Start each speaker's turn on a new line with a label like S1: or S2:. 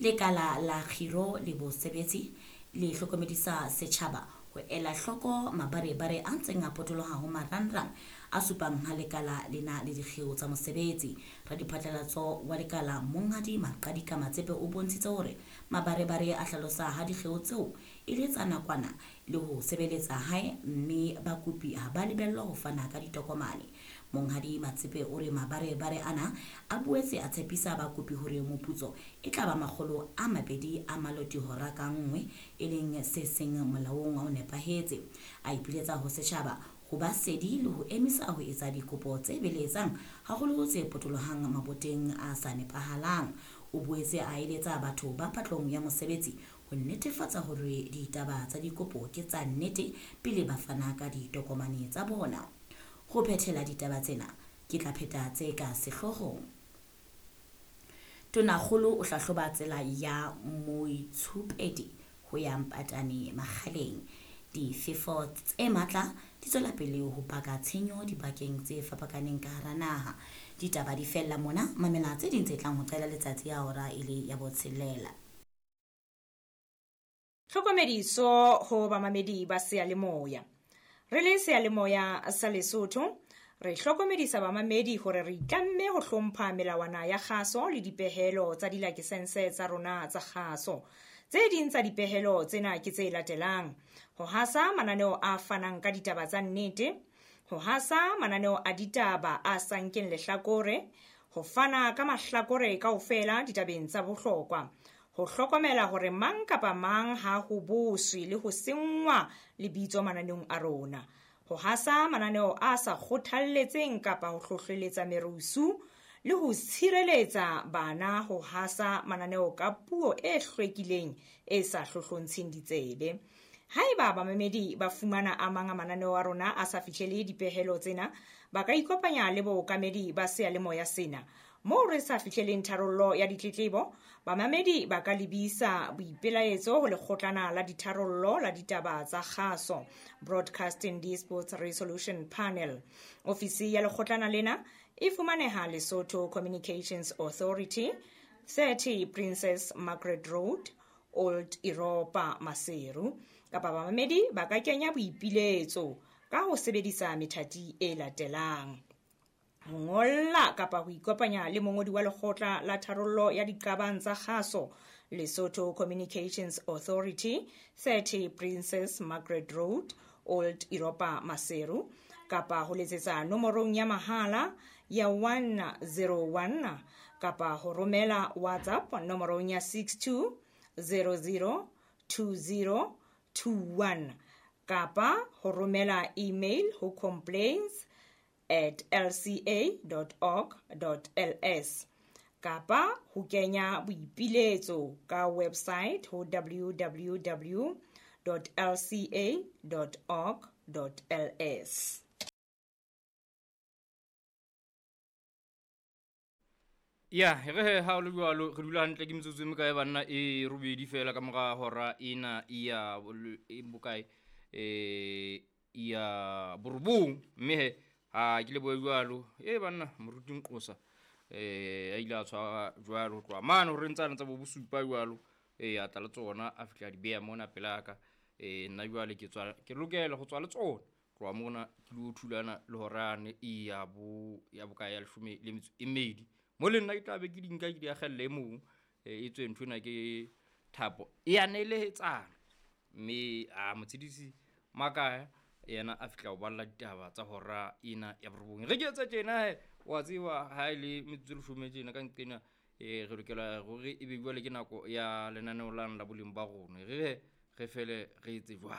S1: Lekala la Kgiro le Bosebetsi le hlokomedisa setjhaba ho ela hloko mabarebare a ntseng a potoloha ho marangrang a supang ha lekala le na le dikgeo tsa mosebetsi. Radiphatlalatso wa lekala Monghadi Maqadika Matsepe o bontshitse hore mabarebare a hlalosa ha dikgeo tseo e le tsa nakwana le ho sebeletsa hae mme bakopi ha ba lebellwa ho fana ka ditokomane. Monghadi Matsepe o re mabarebare ana a boetse a tshepisa bakopi hore moputso e tla ba 200 a maloti hora ka nngwe, e leng se seng molaong o nepahetse. A ipiletsa ho setjhaba ho ba sedi le ho emisa ho etsa dikopo tse beletsang, haholo tse potolohang maboteng a sa nepahalang. O boetse a eletsa batho ba patlong ya mosebetsi ho netefatsa hore ditaba tsa dikopo ke tsa nnete pele ba fana ka ditokomane tsa bona. Ho phethela ditaba tsena, ke tla pheta tse ka sehloohong. Tonakgolo o hlahloba tsela ya Moitshupedi ho ya Mpatane Makgaleng. Difefo tse matla di tswela pele ho baka tshenyo dibakeng tse fapakaneng ka hara naha. Ditaba di fella mona, mamela tse ding tse tlang ho qala letsatsi ya hora e le ya botshelela.
S2: Tlhokomediso ho bamamedi ba seyalemoya. Re le seyalemoya sa Lesotho, re hlokomedisa bamamedi hore re itlamme ho hlompha melawana ya kgaso le dipehelo tsa dilakesense tsa rona tsa kgaso. Tse ding tsa dipehelo tsena ke tse latelang: ho hasa mananeo a fanang ka ditaba tsa nnete, ho hasa mananeo a ditaba a sa nkeng lehlakore, ho fana ka mahlakore kaofela ditabeng tsa bohlokwa, ho hlokomela hore mang kapa mang ha ho boswe le ho senngwa lebitso mananeong a rona, ho hasa mananeo a sa kgothalletseng kapa ho hlohleletsa merusu, le ho tshireletsa bana ho hasa mananeo ka puo e hlwekileng e sa hlohlontsheng ditsebe. Haeba bamamedi ba fumana a mang a mananeo a rona a sa fihlele dipehelo tsena, ba ka ikopanya le bookamedi ba seyalemoya sena. Moo re sa fihleleng tharollo ya ditletlebo, bamamedi ba ka lebisa boipelaetso ho lekgotlana la ditharollo la ditaba tsa kgaso, Broadcasting Disputes Resolution Panel. Ofisi ya lekgotlana lena e fumaneha Lesotho Communications Authority, 30 Princess Margaret Road, Old Europa, Maseru. Kapa bamamedi ba ka kenya boipiletso ka ho sebedisa methati e latelang: ho ngolla kapa ho ikopanya le mongodi wa lekgotla la tharollo ya diqabang tsa kgaso, Lesotho Communications Authority, 30 Princess Margaret Road, Old Europa, Maseru, kapa ho letsetsa nomorong ya mahala ya 101, kapa ho romela WhatsApp nomorong ya 62002021, kapa ho romela email ho complaints@lca.org.ls, kapa ho kenya boipiletso ka website ho www.lca.org.ls.
S3: Ya, re he ha o le jwalo, re dula hantle ke metsotso e mekae banna e robedi fela ka mora hora ena ya e bokae, ya borobong. Mme he ha ke lebohe jwalo e banna moruti Nqosa, a ile a tshwara jwalo ho tloha mane hore ntsane tsa bo bosupa jwalo, a tla le tsona a fihla di beha mona pelaka. Nna jwale ke tswa ke lokela ho tswa le tsona tloha mona ke lo thulana le horane e ya bo ya bokae ya leshome le metso e mmedi. Mo le nna ke tla be ke di nka ke di akgelle e mong, e tswe nthwena ke thapo e ya nelehetsana. Mme a motshedisi Makaya yena a fihla ho balla ditaba tsa hora ena ya borobong. Re ke etse tjena he, wa tseba ha e le metsotso e leshome tjena ka nqena, re lokela hore e be jwale ke nako ya lenaneo lane la boleng ba rona. Re re fele re etse jwang.